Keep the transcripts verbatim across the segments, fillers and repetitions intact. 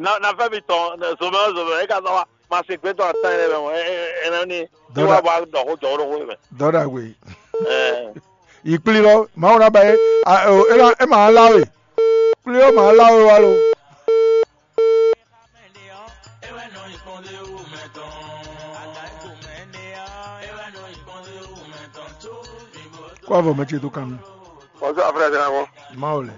Na na fẹ́ mi tɔn zomɛ zomɛ e ka zɔ wa ma se gbé tɔn atan yẹn mɛ mɔ ẹ ẹ ẹ ní Dɔda- wa bɔ dɔ ko jɔ ɖo ko mɛ. Dɔda gbe. Ɛ Yi kplí lɔ, Mawu ná ba yé. A, o, é ná, é ma lá we. Kplí ɔ́ ma lá we wá lo. Kó avɔ mɛ ce tó kan nú. Bonsoir frère Dramɔ. Mawu lɛ.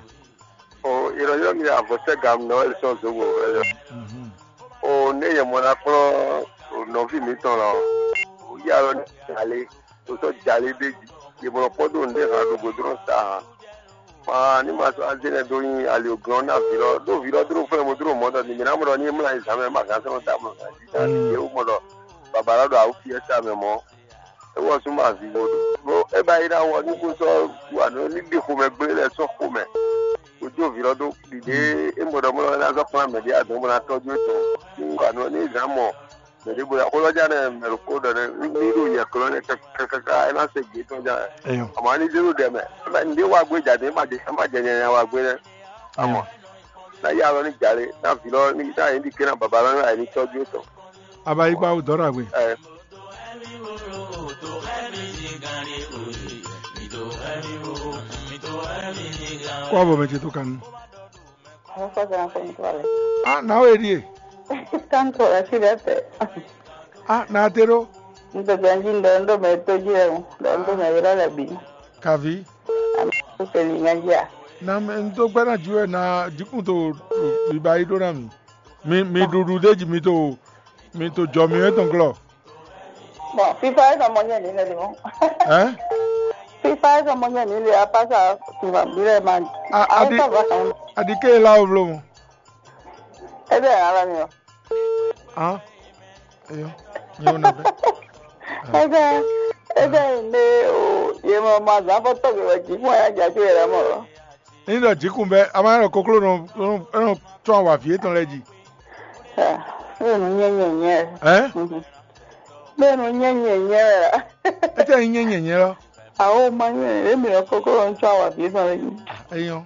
O ìrọ̀lẹ́ mi àbọ̀tẹ́ gam nọ ẹ̀ sọ zobo ẹ̀. Mhm. O ne yɛ mɔ na kplɔ́n o nɔví mǐtɔn lɔ. O yá lɔ ní jalè. O sɔ jalè ɖé jí. Yɛ mɔ kpɔ́ dó nɖé hàn ɖo godrɔn sa hàn. Maa ní ma sɔ́ azé nɛ́ dó nyi ali òglɔ́n ná vǐ lɔ ɖó vǐ lɔ dló fɛ́n mo dló mɔ̌ ɖɔ ni mǐ ná mɔ ɖɔ ní é mlá yi zǎn mɛ ma gǎn sɛ́ nɔ dó amlɔ gǎn jí ná ɖi yě wú mɔ ɖɔ baba lɔ ɖo awu fí ɛ sa mɛ mɔ̌. É wɔ sú ma vǐ bó ɖó é ba yi ná wɔ ní kó sɔ́ wú anɔ ní ɖi xomɛ gblé lɛ́ɛ sɔ́ xomɛ. Kó jó vǐ lɔ dó ɖiɖe é mɔ ɖɔ mɔ ná zɔ́ kplán mɛ ɖé adɔn bó ná tɔ́jú é tɔn. Ní wú anɔ ní zǎn mɔ mɛ ɖěbǔ xó lɔ jánɛ mɛ ɖokpó ɖɔ nɛ ní ɖo yɛ klɔ́ nɛ káká é ná se gbě tɔn jánɛ. Eyɔn. Àmọ́ ní zéro ɖɛ mɛ ní wá gbé jàdé má jẹ má jẹ nyanya wá gbé nɛ. Àmọ́ ná yá lɔ ní jalè ná vǐ lɔ ní ná yín ɖi ké ná baba lɔ ní ayé ní tɔjú tɔn. Abayigba wo dɔrɔ agbe. Ɛ Kó avɔ mɛ ce tó kan nú. Ɔ́, kɔ́ sɛ́ ná kɔn nukún alɛ. Ah, na we ɖie. Kanko la si ɖe te. Ah, na te ɖo. N to gbɛn ji ndo ndo mɛ to ji lɛ mo, ndo ndo mɛ yɔrɔ lɛ bi. Kavi. Ami ko se ni nya ji a. Na mɛ n to gbɛ na ju wɛ na jikun to biba yi ɖo na mi. Mi mi ɖuɖu de ji mi to mi to jɔ mi wɛ tɔn glɔ. Bon, fifa é sɔmɔ nyɛ ní lɛ de mɔ. Hein? Fifa é sɔmɔ nyɛ ní lɛ apa sa tuma bi lɛ ma. A- Ayi adi sɔgɔ sɔn. Adi ke la o vlo mo. Ebe ala mi o. Ah. Eyo. Nyo na be. Ebe ebe ne o ye mɔ ma zan fɔ tɔgbe wɛ ji fún ya ja to yɛ mɔ. Ní ɖɔ jǐkun bɛ́ a ma ɖɔ kokló nɔ nɔ nɔ tsɔ́n awǎví étɔn lɛ́ɛ jí. Bẹ́ẹ̀ nu nyɛ nyɛ nyɛ. Ɛ? Bẹ́ẹ̀ nu nyɛ nyɛ nyɛ wɛ la. Étɛ́ nyí nyɛ nyɛ nyɛ lɔ. Awo ma nyɛ èmi lɔ kókó lɔ ń tsɔ́n awǎví étɔn lɛ́ɛ jí. Eyɔn.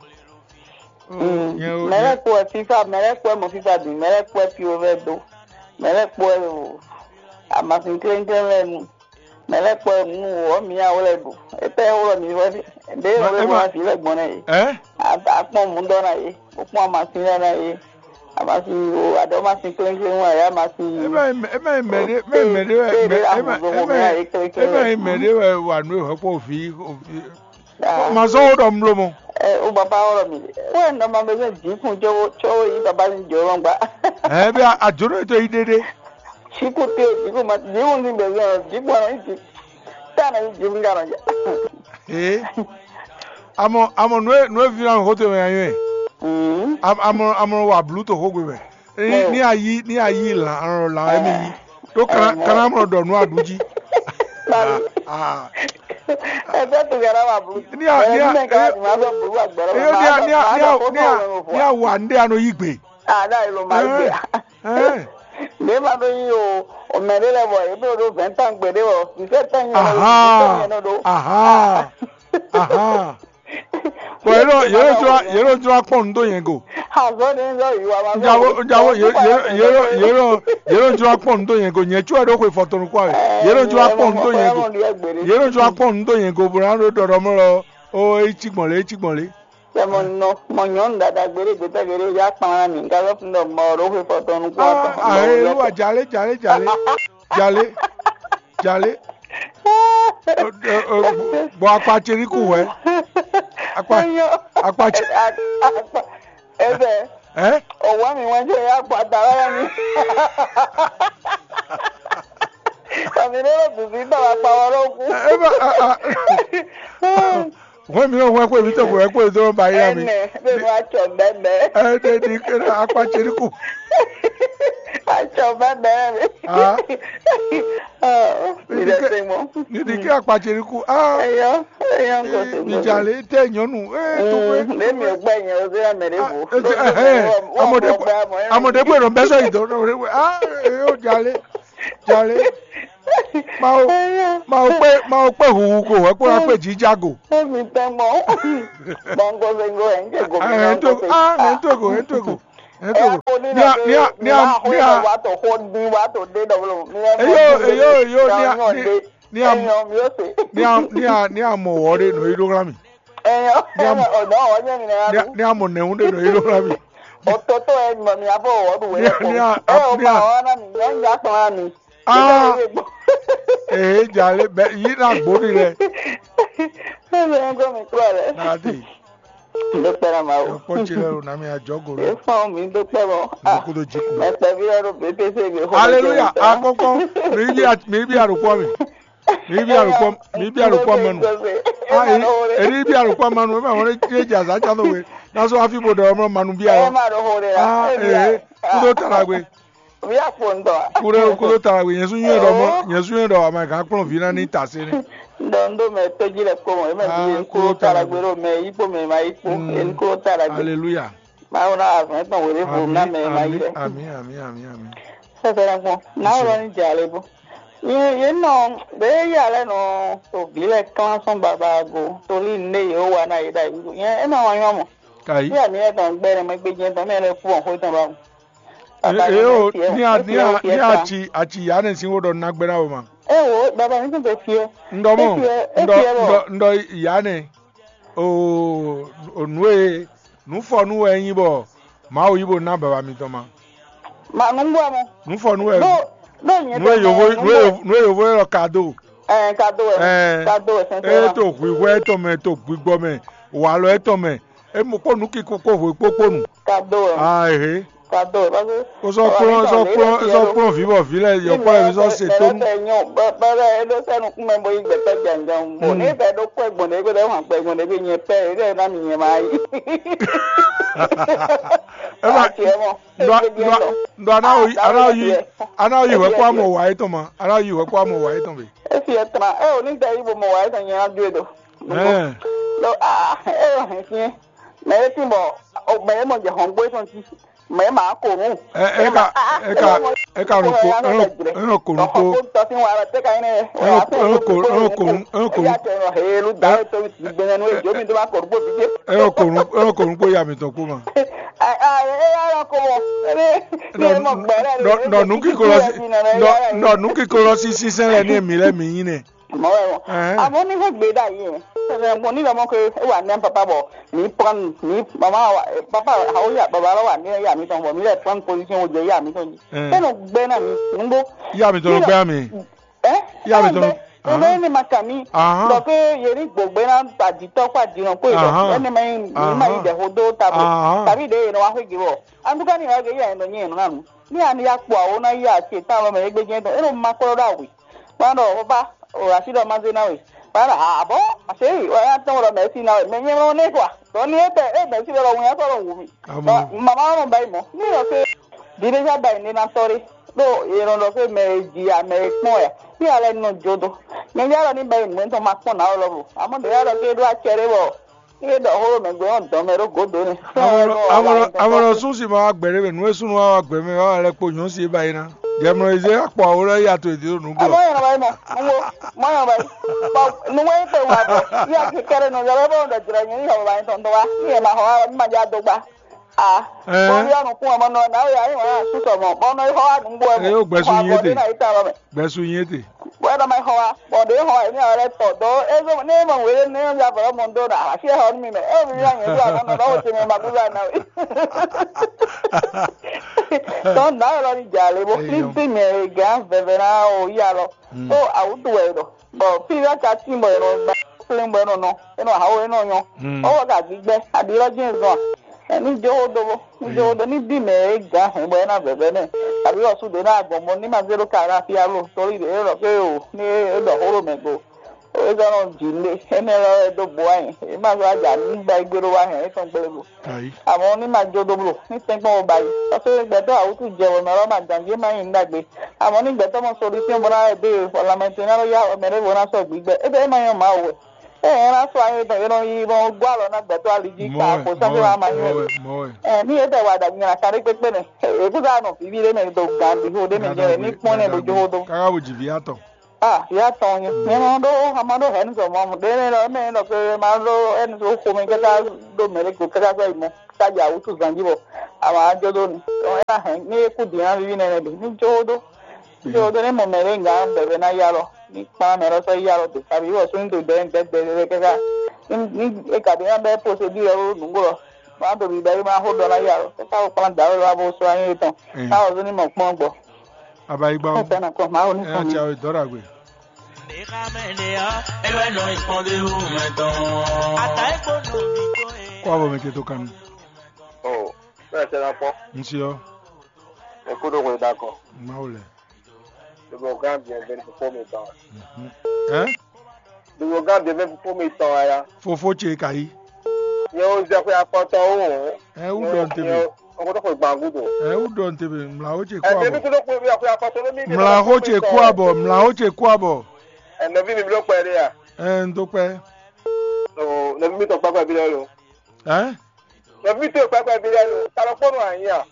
Mɛlɛ kpɔ ɛ fifa mɛlɛ kpɔ ɛ mɔ fifa bi mɛlɛ kpɔ ɛ pi o vɛ do mɛlɛ kpɔ ɛ o amasin klɛnklɛn lɛ nu mɛlɛ kpɔ ɛ nu wɔ mi awo lɛ do etɛ wɔ mi wɛ de wɔ lɛ bɔ ma fi lɛ gbɔn nɛ ye Ɛ? Akpɔn mu dɔ na ye o kpɔn amasin lɛ na ye amasin o adɔ masin klɛnklɛn wa ye amasin yi E ma nyí mɛ- e ma nyí mɛɖé mɛ mɛɖé wɛ mɛ- e ma- e ma- e ma nyí mɛɖé wɛ wa nú ehɔ́kpɔ òfin òfin. Ma zɔ́n wo ɖɔ un bló mɔ. O baba wɔ mi wɛ nɔ ma bɛ zɔn jǐkun cɔwo cɔwo yi baba ni jɔ lɔn gba. Ɛ bí a jǒnɔ yi tó yi ɖéɖé. Jǐkun te jǐkun ma jǐkun ni bɛ zɔn jǐkun anɔ yi jǐ tá nɔ yi jǐkun ka nɔ ja. Ee. Amɔ amɔ nue nue vi na xo te mɛ anyɔ. Amɔ amɔ wa blu to xo gbe mɛ. Ní a yí ní a yí lǎn lǎn wɛ mì yí ɖó kaná mɔ ɖɔ nú aɖǔ jí. Ẹgbẹ́ tó yàrá wà burú. Ní a ní a ní a ní a ní a ní a wà ní a nɔ yí gbé. Àdá yìí ló máa gbé. Ní ma ɖó yí o, o mɛ ɖé lɛ bɔ yě ɖo ɖó vɛ̌ntán gbé ɖé wɔ, nsé tán yẹn lɔ, nsé tán yẹn lɔ ɖó. Aha. Bɔn yě ɖo yě ɖo jlá yě ɖo jlá kpɔn nu dó yɛn go. Azɔ ni yɔ yi wa ma. Njawó njawó yě yě yě ɖo yě ɖo yě ɖo jlá kpɔn nu dó yɛn go nyɛ tsu wɛ ɖo xwe fɔtɔnu kó awɛ yě ɖo jlá kpɔn nu dó yɛn go yě ɖo jlá kpɔn nu dó yɛn go bó ná ɖo ɖɔɖɔ mɔ lɔ o etsi gbɔn lé etsi gbɔn lé. Sɛ mɔ nɔ mɔ nyɔnu dada gbére gbɛtɛ gbére ya kpan na mi nka lɔ fun dɔ mɔ ɖo xwe fɔtɔnu kó atɔ. Ahe lu wa jalé jalé jalé jalé jalé. Bɔn akpa ce ní kú wɛ. Akpa akpa ce. Ebe. Ɛ. Owó mi wọ́n jẹ́ ya akpa da lọ́wọ́ mi. Kàmí ló ló bùbí bàbá pa wọ́n ló kú. Ẹ bá a a. Wọ́n mi náà wọ́n pè mí tó kò wẹ́ pé tó ń ba yín àmì. Ẹnẹ bẹ́ẹ̀ ni wọ́n á tsọ̀ bẹ́ẹ̀ bẹ́ẹ̀. Ẹ ẹ ní kí akpa ce ní kú. Á tsọ̀ bẹ́ẹ̀ bẹ́ẹ̀ mi. Ah. Ìdẹ̀sẹ̀ mọ́. Ní ti kí akpa ce ní kú. Ah. Ẹyọ ẹyọ ń gòsè gòsè. Ìjà lè tẹ̀ yọnu. Ẹ tó pé. Lẹ́mi ò gbẹ́ yẹn o sí àmì rẹ̀ bò. Amọ̀dé pé ìrọ̀ bẹ́sẹ̀ ìdọ́ náà rẹ̀ wẹ̀. Ah. Ẹ yóò jalè jalè. Máa ó máa ó pé máa ó pé huhu ko wẹ́ kó ná pé jíjá go. Èmi tẹ́ mọ́. Gbọ̀ngàn gbẹ̀ngàn ẹ̀ ń jẹ́ gòmìnà. Ẹ̀ ń tó ah ẹ̀ ń tó go ẹ̀ ń tó go. Ɛ ko ní ní a ní a ní a ní a wá tó xó ní wá tó dé dɔblo. Ní ɛ eyo eyo eyo ní a ní ní a ní a ní a ní a mɔ wɔ ɖe nɔ yi ɖó xlá mi. Ẹyọ ní a mɔ ọ̀nà ọ̀nyẹ́ mi náà ní a ní a mɔ nɛ̀hún ɖe nɔ yi ɖó xlá mi. Òtótó ẹ nọ mi abó wɔ ɖu wẹ ní a ní a ẹ ò ní bá a wọn náà mi yẹn ń gbà tán náà mi. Ah. Ee, jalè bɛ yi na gbóni lɛ. Ẹ bẹ ń gbọ́ mi kúrò rẹ. Nadi. Dókítà Mao. Kpɔtsi lɛ o nami adzɔgo lɛ. Efɔn mi dókítà mɔ. Ndokodo dzi kun. Mɛ kpɛvi lɛ ɖo B P C mi xɔ. Hallelujah. Akɔkɔ. Mi bi a- mi bi arukɔ mi. Mi bi arukɔ mi bi arukɔ mɛnu. Ah, e- eri bi arukɔ mɛnu. Ema wɔn e dza za tsa do we. Naso afi bo dɔ mɔ manu bi Ẹ a. Má ɖo xo ɖe la. Ah, Ẹ bia. Ee. Kudo talagbe. Via kpo ŋutɔ. Kudo kudo talagbe. Yesu nyɛ dɔ mɔ. Yesu nyɛ dɔ ama gan kplɔn vi na ni ta se ni. Dɔn ɖo mɛ tɔjí lɛ kpɔmɔ ema Ah, vi yẹn kúrò kudo talagbe. Ɖo mɛ yí kpó mɛ ma yí kpó Mm. Yẹn kúrò talagbe. Hallelujah. Mawu ná azɔn tɔn wele vo ná mɛ ma yí Ami lɛ. Ami ami ami ami. Sɛsɛ na kpɔn. Náwó lɔ ní dza lé bó. Yé yé nɔ bɛ yé yà lɛ nɔ to vǐ lɛ klán sɔn baba go tolí nɖé yě wó wa ná yě ɖa yǐ. Yẹn é nɔ wá nyɔ mɔ. Kayi. Bí àní ẹ̀ tɔn gbẹ ní mɛ gbé jẹ́ tɔn mɛ lɛ fún ọ̀hún tán báwo. Baba Ee ní o mɛ tiẹ̀ ní a ní a ní a tiẹ̀. Atsi atsi ya ne sin wo ɖɔ nagbe na wo ma. Ẹ wo baba ní tún tẹ tiẹ̀. Ŋɖɔ mɔ Efiɛ- ŋɖɔ efiɛ bɔ. Ŋɖɔ ŋɖɔ ya ne o o nu e nu fɔ nu wɛ nyi bɔ Mawu yi bo ná baba mitɔn ma. Ma nu gbɔ mɔ. Nu fɔ nu wɛ Ɖo ɖo nyɛ nu e yovo nu e yovo nu e yovo yɛ lɔ kado. Ɛ kado wɛ. Ɛ Kado wɛ sɛnsɛn eye ma. To hwihwɛ etɔn mɛ to gbigbɔ mɛ walɔ etɔn mɛ emo kpó nu kiko kpó hwe kpó kpó nu. Kado wɛ. Aa ehe. Kado wɛ parce que. Kó sɔ kplɔn sɔ kplɔn sɔ kplɔn vǐ bɔ vǐ lɛ yɔkpɔ lɛ mi sɔ se tónu. Bɛlɛ nyɔ bɛlɛ eɖo sɛ nukún mɛ bo yi gbɛtɔ janjan bo ne bɛ ɖo kɔ gbɔn ɖe gbɛtɔ hàn kpɛ gbɔn ɖe bi nyɛ pɛ eɖe na mi nyɛ ma yi. Ema Ati ɛmɔ. Ndo ndo ndo ana o ana o yi ana o yi hwɛ kó amɔ wa etɔn ma ana o yi hwɛ kó amɔ wa etɔn be. Esi etɔn ɛ o ni tɛ yi bo mɔ wa etɔn nyɛ na ju edo. Ɛɛ Lo ah ɛ o hɛn fiɛ. Mɛ e tin bɔ mɛ e mɔ jɛ hɔn gbó etɔn ti. Mɛ e ma ko nu. Ɛ ɛ ka ɛ ka ɛ ka nɔ ko ɛ nɔ ko nu ko. Tɔsí wa lɔ tɛ ka yi nɛ. Ɛ nɔ ko ɛ nɔ ko nu ɛ nɔ ko nu. Eya tɛ nɔ helu da e to gbɛnɛ nu ejo mi do ma ko nu bó fi. Ɛ nɔ ko nu ɛ nɔ ko nu kó ya mi tɔn kó ma. Ɛ ɛ ɛ ya lɔ ko mɔ. Ɛ ní ɛ mɔ gbɛ lɛ. Nɔ nɔ nu kíkó lɔ sí nɔ nɔ nu kíkó lɔ sí sísɛn lɛ ní èmi lɛ mi yín nɛ. Mɔwɛ mɔ. Ɛhɛn. Àmọ́ ní fẹ́ gbé dà yìí ẹ̀. Ṣẹ̀ṣẹ̀ gbọ́n nílò ọmọ pé ó wà ní pápá bọ̀ ní pọ́n ní màmá wa pápá àwọn ìyá bàbá lọ wà ní ìyá mi tán bọ̀ mí lẹ̀ pọ́n position ó jẹ́ ìyá mi tán yìí. Ɛhɛn. Sẹ́nu gbẹ́ náà mi nùgbó. Ìyá mi tán ló gbẹ́ mi. Ẹ́ Ìyá mi tán ló. Ebe ni ma kà mí. Ahán. Lọ pé yẹrí gbògbé náà àdìtọ́ kó àdìrán kó ìlọ. Ahán. Ẹni máa ń máa ń Ahán. Dẹ̀ hodó tabo. Ahán. Tàbí ìdè yẹn wá fẹ́ gírọ̀. Àdúgbò ni ìwà gẹ̀ yà ẹ̀ lọ yẹn nù. Ní àná ya kpọ̀ àwọn náà yà àti ìtàn ọmọ ẹgbẹ́ jẹ́ tán. Ẹ̀rọ máa kọ́ lọ́dọ̀ àwẹ̀. Báwo ọba òrà sí lọ́ọ́ máa zé náà wẹ̀. Báwo àbọ̀ àṣeyìí ọ̀yà tán wọ̀rọ̀ mẹ́sì náà wẹ̀. Mẹ nyẹ́ wọn ní kọ́. Tọ́ ní ẹ tẹ ẹ mẹ́sì lọ́rọ̀ wọn yà sọ̀rọ̀ wù mí. Àmọ́. Màmá ọ̀rọ̀ báyìí mọ́. Ní ìrọ̀ pé dìde sábà ìní náà sọ́rí. Ló ìrànlọ́ pé mẹ jìyà mẹ kpɔn ɛ. Ní alẹ́ nínú jodo. Mẹ yà lọ ní báyìí nìyẹn tó máa pọ̀ náà lọ́wọ́. Àmọ́ mẹ yà lọ pé ló wá kẹrẹ́ wọ̀. Ní ìdọ̀ hóró mẹ gbé wọn dán mẹ ló gòdó ni. Amọ̀nà sún sì máa wá gbẹ̀rẹ́ mẹ nú é súnú wá wá gbẹ̀rẹ́ mẹ wá lẹ kpo nyɔ̌ sí é báyìí ná. Jẹmọ ìzé akpọ̀ àwòrán yàtọ̀ èdè ló nùgbò. Àmọ́ yàrá báyìí mọ̀, mo wo, mọ́ yàrá báyìí. Bọ̀ nùwé pé wà bọ̀, bí a ti kẹ́rẹ́ nù, yàrá bá wọn dọ̀ jìrọ̀ yẹn ní ìyàwó báyìí tọ̀ ń dọ̀ wá, ní ẹ̀ máa hàn wá, ní màá jẹ́ àdógbá. Ah, Ɛɛ. Bɔn yɔ nukun ɔmɔ nɔ na ya yi wá susɔ mɔ bɔn nɔ yi xɔ wa nugbo ɛ Eye wo gbɛsu yin ete. Na yi ta lɔ mɛ. Gbɛsu yin ete. Bɔn ɛdɔ ma yi xɔ wa bɔn ɖe xɔ wa yi ni awɛ lɛ tɔ dɔ ezo ne mɔ wele ne ya vɔ mɔ do na asi xɔ mi mɛ e mi ya nyɛ do amɔ nɔ lɔ wo tɛmɛ ma gbɛgbɛ na wi. Tɔn na yɔrɔ ni dza le bo Eyi fi yɔ. Fi mɛ gan vɛvɛ na o ya lɔ. Mm. O awutu wɛ dɔ. Bɔ fí wɛ ka tín bɔ è nɔ gba kplé bɔ è nɔ nɔ, è nɔ hawo, è nɔ nyɔ. Mm. Ɔwɔ ka gbígbɛ, aɖi lɔ jɛ́n zɔn a? Ɛ ní jó xó dó bó, ní jó xó dó, ní bí mɛ e gǎn hɛn bɔ é ná vɛvɛ nɛ, abǐ wɔ sú ɖě ná gbɔn bɔ ní ma zé ɖó ka ná fí alo torí ɖě é ɖɔ pé o ní é ɖɔ xó ɖo mɛ go. É zɔ́ nɔ jǐ nú ɖe, énɛ́ lɔ wɛ dó bo wá nyɛ, é má zɔ́ wá jɛ amǐ gbá é gbé ɖó wá hɛn é tɔn gbélé go. Ayi. Àmọ́ ní ma jó dó bló, ní tɛ́nkpɔ́n wo ba yi. Parce que gbɛtɔ́ awútu jɛ wɛ mɛ lɔ ma gǎn jí é má nyí nǔ ɖagbe. Àmọ́ ní gbɛtɔ́ mɔ solution bó ná wɛ dó e, bɔ lanmɛ tɔn ná lɔ yá wɛ mɛ ɖěvo ná sɔ́ gbǐgbɛ. É ɖɔ é má nyɔ́ Mawu wɛ. É hɛn ná sɔ́ anyɛ tɔn é nɔ yi nɔ gɔ́ alɔ ná gbɛtɔ́ ali jí ka kpo sɔ́ fí wá ma nyɔ́. Ɛ ní é tɛ wa ɖagbe nyi la ka ɖé kpékpé nɛ. É kú sá nɔ fífí ɖé mɛ do gǎn ɖiho ɖé mɛ jɛ ní kpɔ́n nɛ bó jó dó. Káká bó jì vǐ atɔn. Ah, ya tɔn nyɛ. Nyɛ ma ɖó ama ɖó hɛn zɔ mɔ ɖe ne lɔ mɛ lɔ ke ma ɖó ɛni so xo mɛ kaka ɖó mɛ ɖe ko kaka sɔ yi mɔ. Ka ja wutu zan ji bɔ. Ama jɔ ɖó ni. Ɔ ɛna hɛn ni ku di na vivi nɛ ɖe. Ni jo ɖó. Jo ɖó ne mɔ mɛ ɖe nga bɛbɛ na ya lɔ. Ni kpa mɛ lɔ sɔ ya lɔ de. Abi wɔ so ni do dɛ dɛ dɛ dɛ kaka. Ni ni e ka de na bɛ procédure lɔ nugo lɔ. Ma do bi bɛ ma xo dɔ na ya lɔ. Kaka ko kpa da lɔ abo so anyi tɔn. Ka wɔ so ni mɔ kpɔn gbɔ. Abayigba o. Esa na kɔ ma o ni Ɛ kɔ mi. Tia o dɔra gbe. Kó abo mɛ ce tó kanu. Oh, bẹ́ẹ̀ ṣe na pọ́. N si ɔ. Ẹ kú dó hwe dakɔ. Mawu lɛ. Dugbo gán biɛnvɛn fofó mi tɔn. Ɛ? Dugbo gán biɛnvɛn fofó mi tɔn aya. Fofó ce ka yi. Nyɛ o zɛ xwe akpɔtɔ o. Ɛ wú dɔ n tebe. Ɔkɔtɔ xwe gbàngúdo. Ɛ wú dɔ n tebe. Mla o ce kó Ɛ tẹbi abɔ. Kúndó xwe akpɔtɔ ló mi. Mla o ce kó abɔ. Mla o ce kó abɔ. Ɛ nɔvi mi mi ló kpɛ ɖe ya. Ɛ n tó kpɛ. Nɔvi mi tɔ kpakpa bi lɛ lo. Ɛ? Nɔvi mi tɔ kpakpa bi lɛ lo. Talɔ kpɔnɔ anyi a.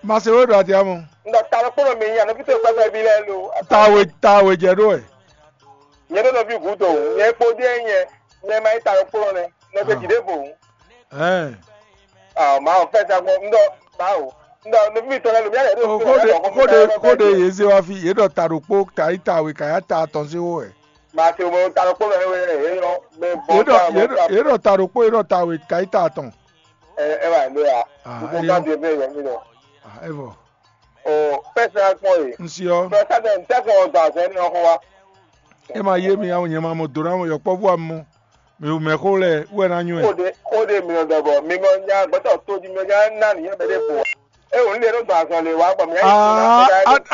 Ma se wo ɖo ati amɔ. N ɖɔ talɔ kpɔnɔ mi nya nɔvi tɔ kpakpa bi lɛ lo. Tawe tawe jɛ ɖo ɛ. Nyɛ ɖo nɔvi gǔdo. Nyɛ kpo ɖe nyɛ. Nyɛ ma yi talɔ kpɔnɔ nɛ. Nɔvi Ah. Jide bo. Ɛɛ. Ah, ma o fɛ sa gbɔ. N ɖɔ ma o. N ɖɔ nɔvi mi tɔ lɛ lo mi yɛ ɖo. O kóde kóde kóde yě zé wá fí yě ɖɔ ta ɖokpó ka yi tawe ka ya ta atɔn sí wó ɛ. Màtí o mọ ta ló kpó mẹ wé ẹ yọ mẹ bọ Yě ɖɔ ta yě ɖɔ yě ɖɔ ta ɖokpó yě ɖɔ tawe ka yi ta atɔn. Ẹ ẹ wà ló ya. Ah, Gbogbo ẹ ká yọ. Di ẹgbẹ́ yẹn mi lọ. Ah, ẹ vɔ. Ọ pẹsẹ akpọ yìí. N si ɔ. Pẹsẹ dẹ n tẹkọ ọdọ àzẹ ní ọkọ wa. Ẹ máa yé mi àwọn yẹn máa mọ dòrò àwọn yọkpọ bú àmọ. Mi ò mẹ xó lẹ wẹ ná nyú ẹ. Kóde kóde mi ò dọ̀bọ̀ mi ŋɔ nya gbẹ́tọ̀ tó di mi ò nya ná nìyẹn bẹ́ẹ̀ dé bò. E wò nílé ló gbà sàn lè wá gbà mí. Aa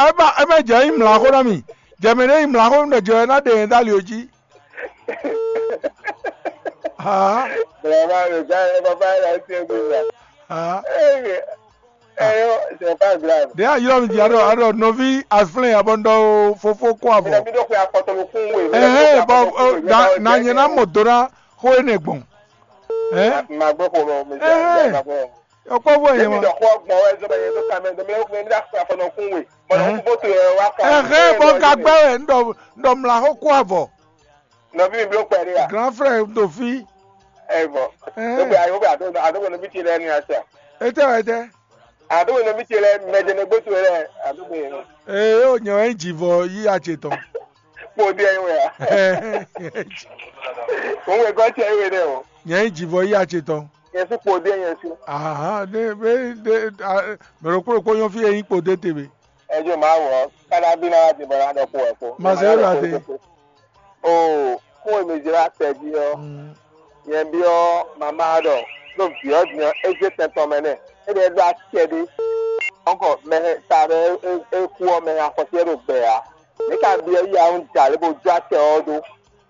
ẹ má ẹ má jẹ́ yín mlá xó ná mi jẹ̀mí ní yín mlá xó mi jọ ẹ ná dè yín dálì ojí. Aa Bẹ̀rẹ̀ máa lè já ẹ bàbá ẹ láti ẹgbẹ́ ìgbà. Aa Ẹ yọ c'est pas grave. Dè ayɔ mi di aɖɔ aɖɔ nɔvi aflɛn abɔ ŋdɔ fofo kó avɔ. Mi ɖo xwe akpɔtɔ ló kún wè. Ɛhɛn bɔ na nyɛ na mɔ do na xó ene gbɔn. Ɛ Ma gbé xo lọ mi. Ɛhɛn. Ɔkpɔ bɔ yẹn Ebi ma. Dɔ xɔ gbɔn wɛ zɔbɛ yẹn tó ka mɛ dɔ mi mi da xwe afɔ nɔ kún wè. Mɔ nɔ kún bó to yɛ wa kɔ. Ɛhɛn bɔ gagbɛ wɛ ŋdɔ ŋdɔ mla xó kó avɔ. Nɔvi mi bló kpɛ ɖé ya. Grand frère ɖo fí. Ɛ bɔ. Ɛhɛn. Ó bɛ ayé ó bɛ àdó àdó bɔ nɔvi ti lɛ ní asa. Etɛ wɛ tɛ. Àdó bɔ nɔvi ti lɛ mɛdɛnɛ gbótó lɛ àdó bɔ yẹn. Ee o nyɛ wɛ jivɔ yí atse tɔn. Kpó dé ɛyin wɛ ya. Òun wɛ gɔ́ tiẹ̀ wé dɛ o. Nyɛ yi jivɔ yí atse tɔn. Yẹn sí kpó dé yẹn sí. Aha ne be de mɛɖokpó ɖokpó nyɔ fi yɛ yín kpo dé te be. Ẹjọ́ máa wọ̀ ọ́ káná bí náà ti bọ̀rọ̀ àdọ́kù ẹ̀ kó. Màá ṣe é rà dé. O kó èmi jẹ́ wá tẹ̀ jí ọ́. Yẹn bí ọ́ màmá ɖɔ ɖo vǐ ɔ́ din ɔ́ é zé tɛn tɔn mɛ nɛ. É ɖe ɖó acɛ ɖé. Ɔ́nkɔ mɛ ta ɖɔ é kú ɔ́ mɛ afɔsí ɛ ɖo gbɛ ǎ. Mǐ ka byɔ́ yí awún jà lě bó jó acɛ ɔ́ ɖó.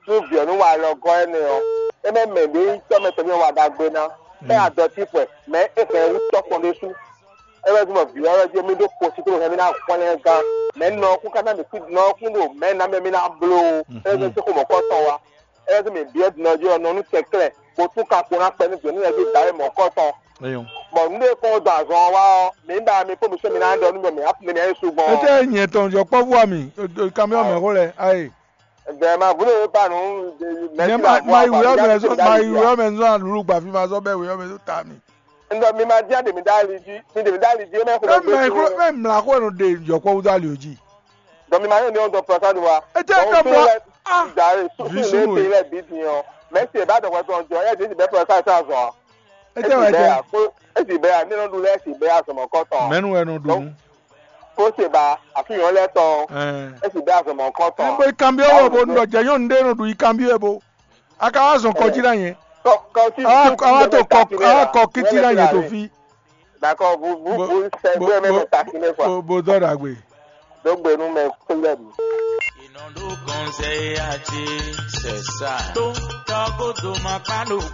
Nú vǐ ɔ́ nú wa alɔ gɔ́ énɛ́ ɔ́, é mɛ mɛ ɖě nyí tɔ́ mɛ tɔn mì wa ɖagbe ná. É adɔ tífɔɛ, mɛ̌ é hɛn wú tɔ́ kpɔn ɖésú. É wɛ zɔ́n bɔ vǐ ɔ́ wɛ jí mì ɖó kposíklo hɛn mì ná hwlɛ́n gán. Mɛ̌ nɔ ɔ́ kún ka ná mì kú nɔ ɔ́ kún ɖo mɛ̌ ná mɛ mì ná bló ó. É wɛ zɔ́n xó mɔ̌kɔ tɔn wá. É wɛ zɔ́n mì byɔ́ din ɔ́ jí ɔ́ nɔ nú kɛnklɛ́n, bó tún ka kpo ná kpɛ nú vǐ ɔ́ nú yɛ̌ dó dǎwe mɔ̌kɔ tɔn. Bɔ nǔ ɖé kɔn dó azɔn ɔ́ wá ɔ́, mǐ ba mi kpó mi sɔ́ mi ná ɖɔ nú mɛ mǐ á fún mi ná yi su gbɔn. Étɛ́ nyɛ tɔn jɔ kpɔ́vú a mì? Kanbyɔ́ mɛ xó lɛ́ɛ, ayi. Bɛn ma vunu ye ba nu. Nyɛ ma ma yi wuyɔ mɛ zɔn ma yi wuyɔ mɛ zɔn alulu gba fi ma zɔn bɛ wuyɔ mɛ zɔn ta mi. Ndɔ mi ma dia de mi da ali ji mi de mi da ali ji mɛ ko Ɛ mɛ xo ɛ mla xo ɛnu de yɔkpɔ wudu ali o ji. Dɔ mi ma yɔ ni ɔn dɔ pɔsa do wa. Etɛ dɔ mla ah. Dare susu Visu le mo. Te lɛ bi ti yɔ mɛ se ba dɔgɔ tɔn jɔ yɛ de ti bɛ pɔsa sa zɔn. Etɛ wɛ jɛ. Esi bɛ ya mi nɔ du lɛ esi bɛ ya sɔmɔ kɔtɔn. Mɛnu wɛ nɔ du nu. Kó se ba àfihàn lɛ tɔn. Ɛɛ. Esi bɛ ya sɔmɔ kɔtɔn. N bɛ kanbiɔ wɔ bo nɔ jɛ nyɔnu ɖe nɔ ɖu yi kanbiɔ bo. A ka wá zɔn kɔjí ná nyɛ. Awa to kɔ awa kɔ kiti ná nyɛ to fi. D'accord, vous vous vous servez même taquiner quoi. Bo dɔ dagbe. Donc ben nous mais problème.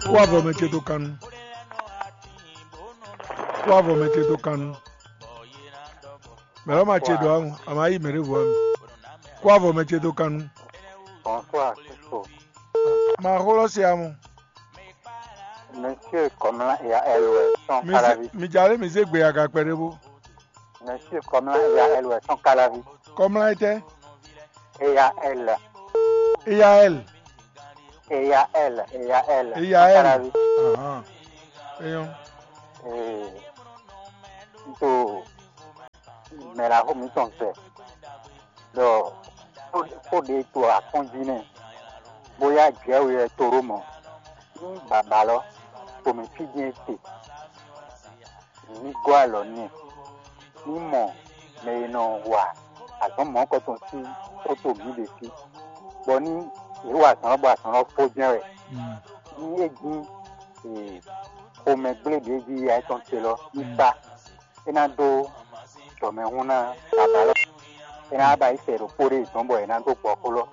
Kó avɔ mɛ ce to kanu. Kó avɔ mɛ ce to kanu. Mɛ lɔ ma ce dɔ amu, a ma yi mɛ ɖe vo ami. Kó avɔ mɛ ce to kanu. Bonsoir, Christo. Ma xlɔ si amu. Monsieur Kɔmla ya L wɛ sɔn Kalavi. Mi jale mi se gbe aga kpɛ ɖe bo. Monsieur Kɔmla ya L wɛ sɔn Kalavi. Kɔmla etɛ. Ya L. Eyaɛl. Eyaɛl, Eyaɛl. Eyaɛl. Akalavi. Ahan. Eyɔn. Ee, n to mɛ ɖaxó mǐtɔn sɛ ɖɔ xó ɖé to akɔ́njí nɛ́, bóyá jɛ̌ we wɛ to ɖó mɔ̌. Ní bǎbá lɔ, xomɛ fí din e se, ní gɔ́ alɔ n'i, ní mɔ mɛ e nɔ wa azɔ̌ mɔ̌hunkɔtɔn sín xó to mǐ ɖe sí, bɔ ní yě wa azɔ̌ lɔ bɔ azɔ̌ lɔ fó jɛ́n wɛ. Ní é jí xomɛ gblé ɖě jí ya étɔn ce lɔ ní kpá, é ná dó jɔmɛhún ná bǎbá lɔ. É ná ba yi sɛ ɖokpó ɖé dɔn bɔ è nǎ dó gbɔ xó lɔ.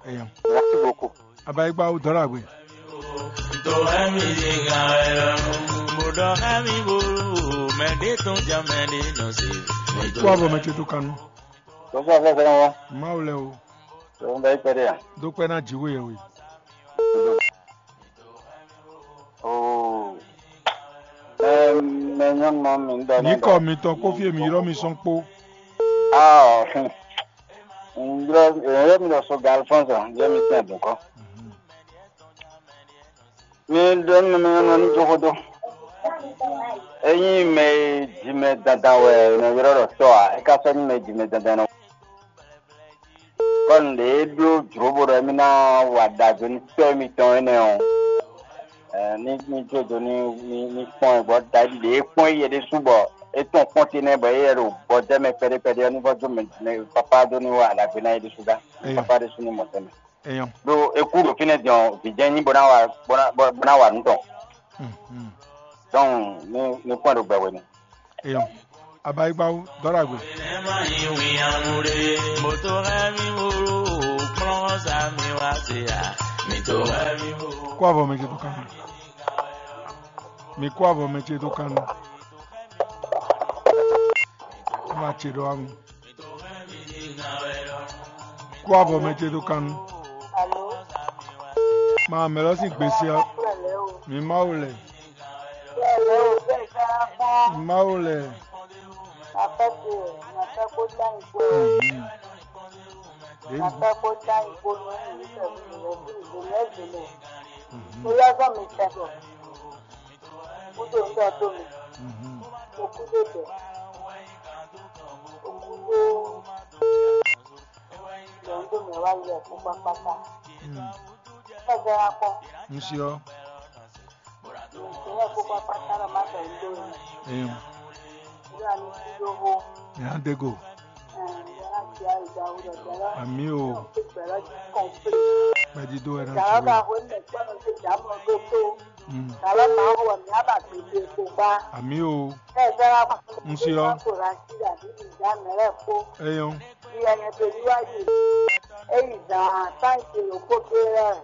Eyɔn. Merci beaucoup. Abayigba wo dɔlagbe. Kó avɔ mɛ ce tó kanu. Tó fún afẹ́ fẹ́ wọn. Mawu lɛ o. Tó ń bẹ ikpɛ dé yan. Dó kpɛ ná jǐ we yɛ we. Oo. Ɛm, mɛ nyɔnu ma mi ń dɔ. Ní kɔ mitɔn kó fí e mi ylɔ́ mi sɔ́n kpó. Ah, hm. Ylɔ́ ylɔ́ mi ɖɔ so ga Alphonse, ylɔ́ mi tɛn dùn kɔ. Mi ɖɔ nú mɛ nyɔnu ní jó xó dó. Ényí mɛ e ji mɛ dandan wɛ è nɔ ylɔ́ ɖɔ tɔ́ ǎ, é ka sɔ́ nyí mɛ e ji mɛ dandan nɔ. Kɔ́ nǔɖé e bló jlǒ bó ɖɔ émí ná wa ɖagbe nú tɔ́ émítɔn énɛ́ ɔ́, ní ní jó do ní ní ní kpɔ́n ɛ, bɔ Dawídi ɖě e kpɔ́n éyɛ́ ɖésú bɔ é tɔn kpɔ́n te nɛ́, bɔ éyɛ́ ɖo gbɔjɛ́ mɛ kpɛɖé kpɛɖé ɔ́, ní vɔ́ jó mɛ mɛ papá dó ní wa ɖagbe ná é ɖésú gán. Eyɔn. Papá ɖésú ní mɔ tɛnmɛ. Eyɔn. Ɖó é kú ɖo fínɛ́ din ɔ́, vǐ jɛ́n nyí bó ná wa bó ná bó ná wa nǔ tɔn. Dɔn ní ní kpɔ́n ɖo gbɛ hwenu. Eyɔn. Abayigbawo dɔlagbe. Kó avɔ mɛ ce tó kanu. Mi kó avɔ mɛ ce tó kanu. Ama ce ɖo amu. Kó avɔ mɛ ce tó kanu. Alo. Ma mɛ lɔ sín gbèsè ɔ. Kúrò lẹ́ o. Mi Mawu lɛ. Kúrò lẹ́ o, bẹ́ẹ̀ ká kpɔ́n. Mawu lɛ. Màfẹ́ kó, màfẹ́ kó dá ìgbó. Mhm. Màfẹ́ kó dá ìgbó ní ìlú pẹ̀lú ìrẹsì ìgbó mẹ́sìn-ín. Mhm. Mo yá sọ mi tẹ̀ bọ̀. Kúdò ń dọ̀ tó mi. Mhm. Mo kúdò tẹ̀. Mo kúdò. Lọ ń dò mí wá yẹ kó pápátá. Mm. Ẹ jẹ́ ra pọ̀. Ń ṣe ọ́. Ìpínlẹ̀ kó pápátá lọ má tẹ̀ ń dò mí. Eyín. Ìyá mi ti dógó. Ìyá ń dégò. Ẹ̀, ìyá láti ayé ìgbà wo lọ jẹ́ lọ. Àmì o. Ìgbà lọ ti kàn pé. Pẹ̀dídó ẹ̀ náà Ìjà ti ọba wẹ̀. Wo ilẹ̀ gbọ́dọ̀ ṣe ìjà mọ́ tó tó. Mm. Ìjà lọ́mọ àwọn ọmọ mi á bà gbèsè epo gbá. Àmì o. Ẹ jẹ́ ra pọ̀. Ń ṣe ọ́. Kò rà sí àbí ìjà mẹ́rẹ̀ kó. Eyín. Ìyá yẹn tó yíwájú. Èyí zàn án sáǹtì òkú kéré rẹ̀.